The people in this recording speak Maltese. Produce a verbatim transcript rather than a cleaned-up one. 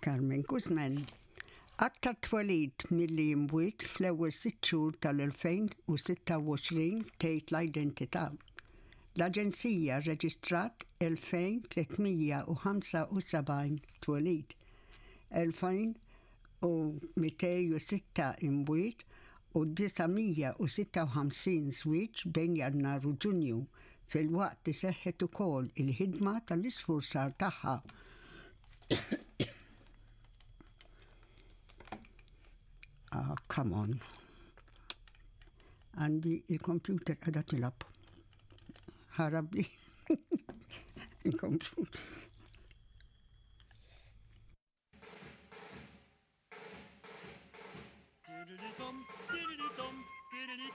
Carmen Guzman. Aktar twelid milli imwiet fl-ewwel sitt xhur tal-elfejn u sitta u għoxrin tgħid l-identità. L-Aġenzija rreġistrat elfejn tliet mija u ħamsa u sebgħin twelid, elfejn u mitejn u sitta imwiet u disa' mija u sitta u ħamsin żwieġ bejn Jannar u Ġunju, filwaqt li seħħet ukoll il-ħidma tal-isfurzar tagħha. Ah, come on. Għandi il-computer għadha tilgħab. Ħarabli. Inkomplu.